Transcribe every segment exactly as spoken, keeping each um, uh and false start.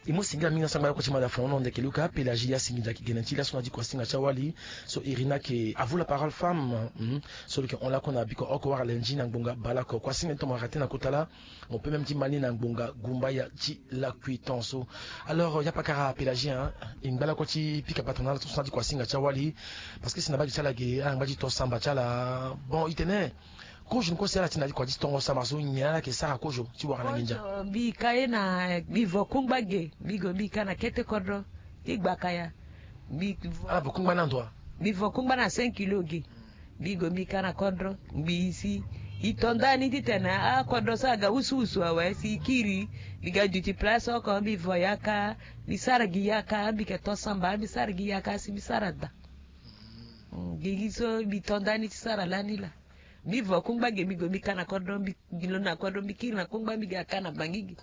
E mu singila mingi na sangba lakue ti mada fono ndeke luka Pélagie ya singida ki gene ti laso na di kua singa ti awali. So Irina ke a vous la parole femme. Hmm. So lo ke hon lakue na biko oko wara lenji na ngbonga baleoko kua singa ti tomo arate na kota laa. Mo pe même ti mali na ngbonga gumbaya ti lakui tonso. Alors ya pakara Pélagie hein. E ngba lakue ti pika patron na laso na di kua singa ti awali. Parce que si na bagi ti ala ge ala ngba ti to samba ti ala. Bon e tene. Kozo ni kue si ala ti na di kua ti tongo samba so nyen ala yeke sara kozo ti wara na nginza. Mbi ka ye na mbi vo kungba ge mbi gue mbi ka na kete kodro ti gbaka ya. Mbi vo ala vo kungba na ndo wa? Mbi vo kungba na cinq kilo ge. Mbi gue mbi ka na kodro ngbi si e to ndani titene akodro so aga wusuwusu awe si e kiri. Mbi ga duti place oko mbi vo yaka. Mbi sara gi yaka mbi yeke to samba mbi sara gi yaka si mbi sara daa. Gigi so mbi to ndani ti sara lani laa. Mbi vo kungba ge mbi gue mbi ka na kodro mbi lo na kodro mbi kiri na kungba mbi ga ka na bangi ge.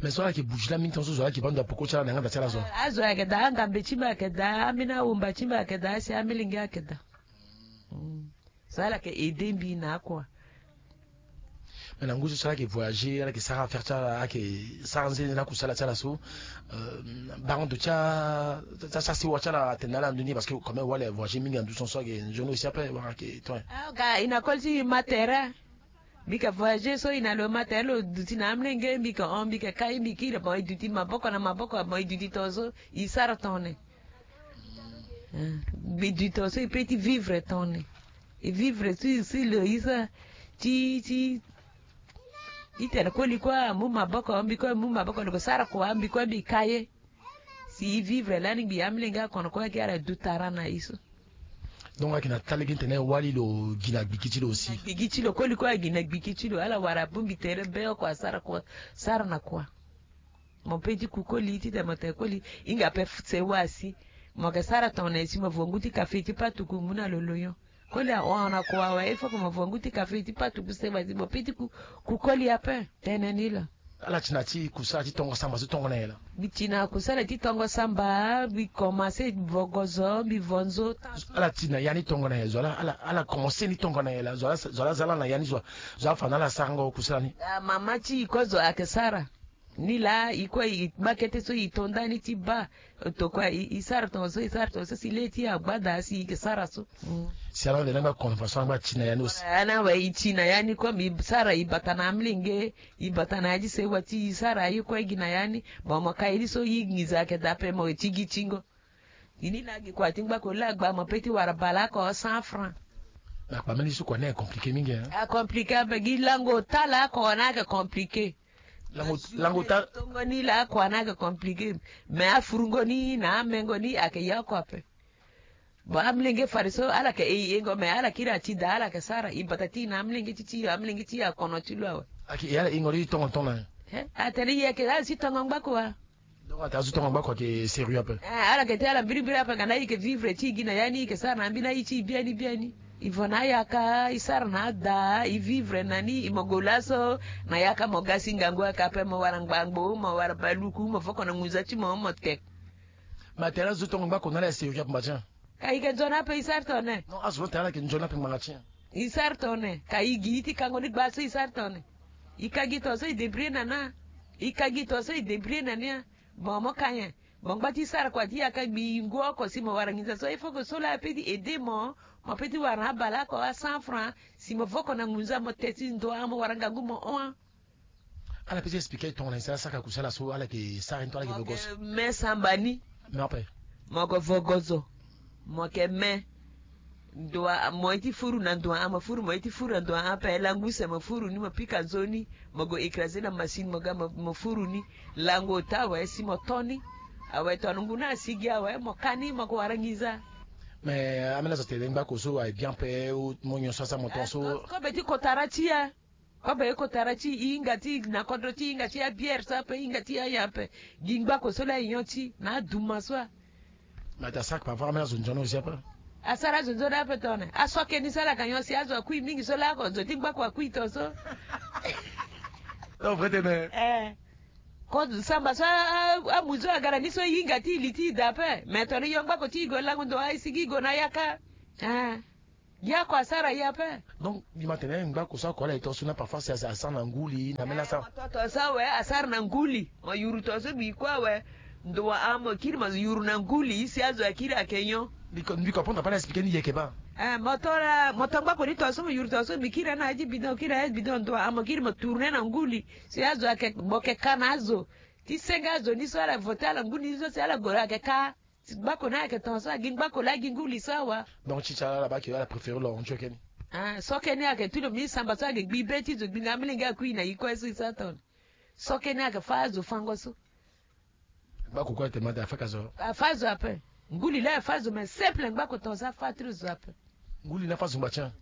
Mais so ala yeke bouge la mingi tonso zo ala yeke baa ndo apoko ti ala na yanga da ti ala zo. Azo ayeke daa angambe ti mbi ayeke daa ambeni awumba ti mbi ayeke daa asi amilenge ayeke daa. So ala yeke aide mbi na akua. Mais na ngu so so ala yeke voyager ala yeke sara affaire ti ala ala yeke sara nzene na kusala ti ala so. Baa ndo ti a ti a ti a sewa ti ala atene na ala ndo ni parce que quand même wala e voyager mingi na ndusu so ayeke nzoni aussi ape wala ayeke to. Aoka e na koli ti ma tere. Mbi yeke voyager so e na lo ma tere lo duti na amolenge mbi yeke hon mbi yeke kai mbi kiri bon e duti maboko na maboko bon e duti tonga so e sara tongana. Mbi duti tonga so e pe ti vivre tongana. E vivre si si lo e sara ti ti. Itene koli kue amu maboko mbi kue amu maboko lo ko sara kua mbi kue mbi ka ye. Si e vivre lani ngbi amolenge akono kue ake ala du tara na e so. Donc ayeke na ta lege tene wali lo gi na gbiki ti lo aussi. Gbiki ti lo koli kue agi na gbiki ti lo ala wara abongbi tere be oko asara kua. Sara na kua. Mo pe ti ku koli titene mo tene koli. Hinga pe sewa si. Mo yeke sara tongana nyen si mo vo ngu ti kafe ti patuku mu na lo loyon. Koli ahon na kua awe il faut que mo vo ngu ti kafe ti patuku sewa si mo pe ti ku koli ape. Tene ni lo. Ala ti na ti kusala ti tongo samba so tongo na nyen laa? Mbi ti na kusala ti tongo samba mbi komanse vogozo mbi vo nzo. Ala ti na ya ni tongo na nyen zo ala ala komanse ni tongo na nyen laa zo ala za ala na ya ni zo. Zo afa na ala sarango kusala ni. Mama ti e kue zo ayeke sara. Ni laa e kue e baa kete so e to ndani ti baa. Tokua e sara tongo so e sara tongo so si le ti agba daa si e yeke sara so. Si ala wande na ngba convention na ngba ti na ya ni aussi. Ana awe e ti na ya ni kue mbi sara e bata na amolenge. E bata na ya ti sewa ti e sara aye kue gi na ya ni. Bon mo ka ye ni so e nginza ayeke daa ape mo ti gi tingo. Ini laa gi kua ti ngbako laa gba mo pe ti wara baleoko cent francs. Na kpa mbeni so kua ni ayeke compliqué mingi. Acompliqué ape gi lango ota laa kua ni ayeke compliqué. Lango lango ta. Tongo ni laa kua ni ayeke compliqué. Mais afurungo ni na amengo ni ayeke ya oko ape. Bon amolenge fade so ala yeke e yengo mais ala kiri ati daa ala yeke sara e bata ti e na amolenge ti ti e amolenge ti e akono ti lo awe. Ayeke e ala hingo ti tongo tongo na. Atene e yeke ala si tongo ngbako wa. Donc ata azo tongo ngbako ayeke sérieux ape. Ala yeke ti ala mbirimbiri ape nga na e yeke vivre ti e gi na ya ni e yeke sara na ambeni aye ti e biani biani. E vo na ayaka e sara na ada e vivre na ni e mo gue laso. Na yaka mo ga si ngangu ayaka ape mo wara ngbangbo mo wara baluku mo voko na ngunza ti mo mo te. Ma tene azo tongo ngbako na ala ya sérieux ape mba ti en. Ka e yeke nzoni ape e sara tone. Non azo lo tene ala yeke nzoni ape ngbanga ti en. E sara tone ka e gi e ti kango ni gba so e sara tone. E ka gi to so e débrouiller na na. E ka gi to so e débrouiller na ni. Bon mo ka nyen. Bon ngba ti sara kua ti yaka gbi ngu oko si mo wara nginza so il faut que so laa ape ti aider mo. Mo pe ti wara na abaleoko a cent francs si mo voko na ngunza mo te ti ndo a mo wara ngangu mo hon. Ala pe ti expliquer tongana nyen si ala saka kusala so ala yeke sara ni to ala yeke vogozo. Me samba ni. Me ape. Mo yeke vogozo. Mo yeke me. Ndo wa mo ye ti furu na ndo wa mo furu mo ye ti furu na ndo wa ape langu use mo furu ni mo pika nzoni. Mo gue écraser na machine mo ga mo furu ni. Langu ota awe si mo to ni. Awe tongana ngu ni asi gi awe mo ka ni mo yeke wara nginza. Mais ameni azo tene ngbako so aye bien ape. Mo nyon so asara mo ton so. Kobe ti kotara ti ya. Kobe ye kotara ti e hinga ti na kodro ti e hinga ti abiere so ape e hinga ti aye ape. Gi ngbako so laa e nyon ti na aduma so a. Mais ata sara kpa vara ambeni azo nzoni aussi ape. Asara azo nzoni ape tongana aso ake ni so ala yeke nyon si azo akui mingi so laa oko zo ti ngbako akui to so. Non vrai tene. Eh. Ko samba so amu so aga na ni so e hinga ti e li ti e daa ape mais tongana e yo ngbako ti e gue lango ndo a e sigi e gue na yaka. Eh. Gi ako asara ye ape. Donc mbi ma tene ngbako so ako ala e to so na parfois si asara na nguli na mena asara. Toto so awe asara na nguli, mo yuru to so gbi kue awe. Ndo wa amo kiri mo yuru na nguli si azo akiri ake nyon. Mbi ko mbi ko apona pa na expliquer ni yeke ba. Eh mo to la mo to ngbako ni to so mo yuru to so gbi kiri ana aji bidon kiri aji bidon ndo wa amo kiri mo tourner na nguli si azo ake gbo ke ka na azo. Ti senge azo ni so ala voter ala nguli ni so si ala goro ake ka. Ti ngbako ni ayeke tonga so agi ngbako laa agi nguli so awa. Donc ti ti ala ala baa ke ala préféré lo hon ti oke ni. Ah so oke ni ayeke tu lo mbi samba so ayeke gbi be ti zo gbi nga amolenge akui na yi kue so e sara tongana. So oke ni ayeke fâ azo fango so. Ngbako kue ayeke ma de afâ ka zo. Afâ zo ape. Nguli laa afâ zo mais simple ngbako tonga so afâ ti lo zo ape. Nguli ni afâ zo ngba ti an.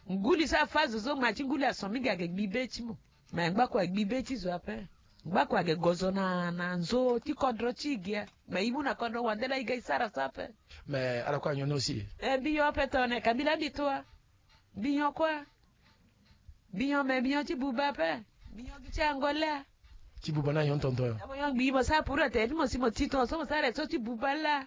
Nguli so afâ zo so ngba ti nguli ason mingi ayeke gbi be ti mo. Mais ngbako agbi be ti zo ape. Ngbako age gozo na na nzo ti kodro ti gi. Mais i mu na kodro wande la i ga i sara so ape. Mais ala kue anyon ni aussi. Eh mbi yo ape tone ka mbi la mbi to a. Mbi nyon kue. Mbi nyon mais mbi nyon ti buba ape. Mbi nyon gi ti angole a. Ti buba ni anyon tonton yo. Mo nyon gbi mo sara pour ate ti mo si mo ti ton so mo sara so ti buba la.